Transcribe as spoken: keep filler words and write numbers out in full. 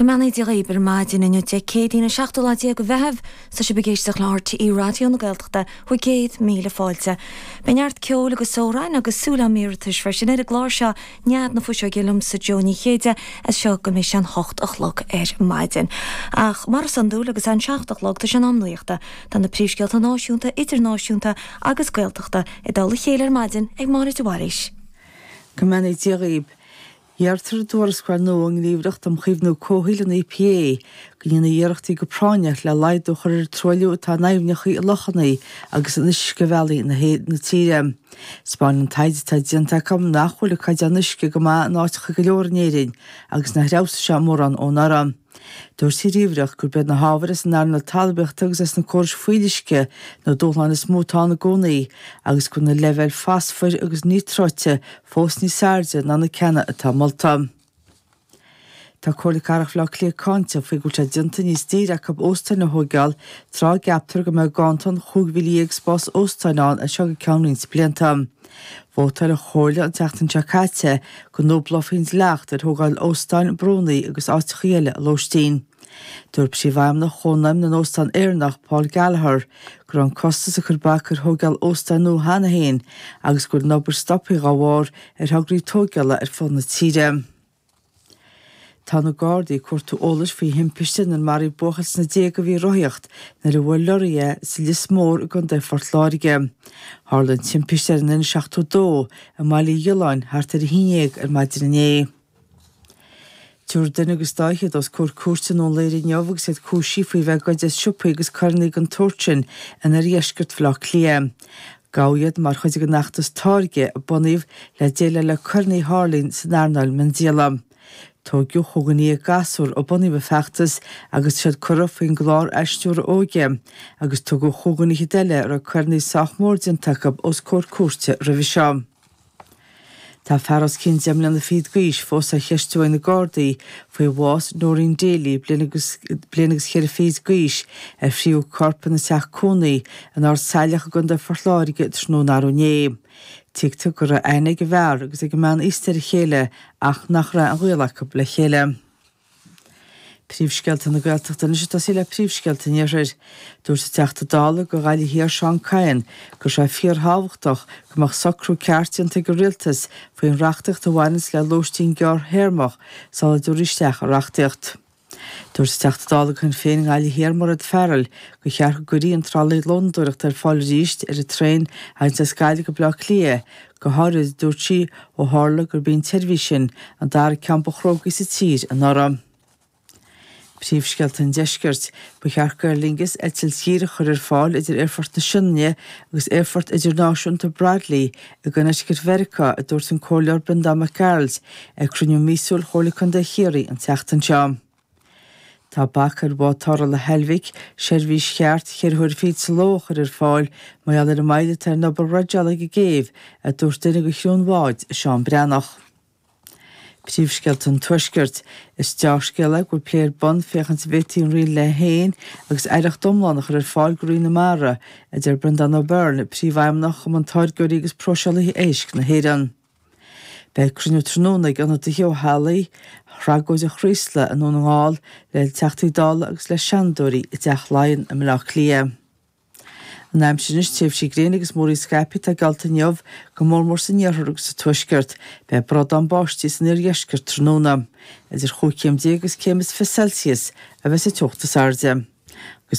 Go mbeannaí Dia dhaoibh ar maidin inniu Dé Céadaoin an seachtú lá déag de Mheitheamh tá sibh ag éisteacht le RTÉ Raidió na Gaeltachta bhur gcéad míle fáilte. Beidh neart ceoil agus amhráin agus súil am iarratais freisin ar an gclár seo Nead na Fuiseoige liomsa Jó Ní Chéide as seo go mbeidh sé an hocht a chlog ar maidin. Ach mar is iondúil agus an seacht a chlog tá sé in am nuachta tá na príomhscéalta náisiúnta, idirnáisiúnta agus Gaeltachta i dtoll a chéile ar maidin ag Máire de Bhailís. Go mbeannaí Dia dhaoibh. Deirtear i dtuarascáil nua ón nGníomhaireacht um Chaomhnú Comhshaoil an EPA go ndéanfaí iarrachtaí go práinneach le laghdú a chur ar an truailliú atá in aibhneacha, i lochanna agus in uiscebhealaí na na tíre. 'Spáineann an taighde atá déanta acu nach bhfuil an caighdeán uisce go maith in áiteacha go leor in Éirinn agus nár fheabhsaigh sé mórán ó anuraidh. Dúirt an ghníomhaireacht gurb iad na hábhair as an earnáil talmhaíochta agus as na córais fuíolluisce na dúshláin is mó atá ann i gcónaí agus go bhfuil na leibhéil fosfair agus níotráite fós níos airde ná na ceanna atá molta. Tá Comhairle Cathrach Bhaile Átha Cliath cáinte faoi go bhfuil sé déanta níos daoire acu óstáin a thóigeáil tráth a gceaptar go mbeidh ganntan chúig mhíle dhéag spás óstáin ann as seo go ceann roinnt blianta. Vótáil an Chomhairle an tseachtain seo caite go ndúblófaí an dleacht ar thógáil óstáin, brúnna agus áiteacha eile lóistín. Dúirt Príomhfheidhmeannach Chónaidhm na nÓstán Éireannach, Paul Gallagher, go raibh an costas ag cur bac ar thógáil óstáin nua cheana féin agus go bhfuil an obair stoptha dá bharr ar thograí tógála ar fud na tíre. Tá na Gardaí ag cuartú eolais faoi thimpiste inar maraíodh buachaill sna déaga a bhí ag rothaíocht nuair a bhuail lorraí é sa Lios Mór i gContae Phort Láirge. Tharla an timpiste ar an N seachtó dó i mBaile Uí Ghiolláin thart ar a haon dhéag ar maidin inné. Tabharfar duine agus dá fhichead os comhair cúirte i nDún Laoghaire inniu agus iad cúisithe faoi bheith ag goid as siopaí agus coireanna den tsórt sin in oirdheisceart Bhaile Átha Cliath. Gabhadh iad mar chuid den fheachtas Táirge a bunaíodh le déileáil le coireanna a tharlaíonn san earnáil miondíola. Tóigeadh chúig dhuine dhéag gasúr ó bunaíodh an feachtas agus tá siad curtha faoin gclár athstiúrtha óige agus tugadh chúig dhuine fhichead eile a raibh coireanna sách mór déanta acu os comhair cúirte roimhe seo. Tá fear os cionn deich mbliana fichead d'aois fós á cheistiú ag na Gardaí faoi bhás Noreen Daly, bliain agus bliain agus cheithre fichid d'aois, ar fríothadh a corp ina teach cónaí in Ard Saileach i gContae Phort Láirge tráthnóna arú inné. Tuigtear go raibh aithne ag an bhfear agus ag an mbean aosta ar a chéile ach nach raibh aon ghaol acu le chéile. Príomhscéalta na Gaeltachta anois ag tosaí le príomhscéalta an Iarthair. Dúirt an Teachta Dála do Ghaillimh Thiar Seán Kyne go raibh sé fíorthábhachtach go mbeadh socrú ceart déanta ag an Rialtas faoin reachtaíocht a bhaineanns le lóistín gearrthéarmach sula dtabharfaí isteach an reachtaíocht. Dúirt an Teachta Dála do Shinn Féin i nGaillimh Thiar Mairéad Farrell gur cheart go gcuirfí an tralaí lónadóireachta ar fáil arís ar an traein a thagann as Gaillimh go Baile Átha Cliath, go háirid, a dúirt sí, ó tharla gurb í an tseirbhís sin an dara ceann ba chrógaí sa tír anuraidh. Príomhscéalta an Deiscirt. Ba cheart d'Aer Lingus eitilt dhíreach a chur ar fáil idir Aerfort na Sionainne agus Aerfort Idirnáisiúnta Bradley i gConnecticut Mheiriceá, a dúirt an Comhairleoir Breandán Mac Gearailt ag cruinniú míosúil Chomhairle Contae Chiarraí an tseachtain seo. Tá bac ar bhád tarrthála Heilbhic seirbhís cheart cheithre huaire fichead sa ló a chur ar fáil mar gheall ar an moill atá ar an obair dhreideála ag an gcéibh, a dúirt duine de chriú an bháid, Seán Breathnach. Príomhscéalta an Tuaiscirt. Is deá-scéala é go bhfuil plé ar bun féachaint an bhféadfaí an Riail a haon agus aireacht iomlán a chur ar fáil do Roinn na Mara, a deir Breandán O'Byrne, Príomhfheidhmeannach Chumann Táirgeoirí agus Próiseálaithe Éisc na hÉireann. Beidh cruinniú tráthnóna ag ionadaithe ó theaghlaigh thragóid an Chraoslaigh i nDún na nGall le Teachtaí Dála agus le Seanadóirí i dTeach Laighean i mBaile Átha Cliath. An aimsir anois, tréimhsí gréine agus múraíl scaipthe atá geallta inniu, go mór mór san iarthar agus sa tuaisceart. Beidh bradán báistí san iardheisceart tráthnóna. Idir chúig chéim déag agus céim is fiche Celsius a bheas an teocht is airde.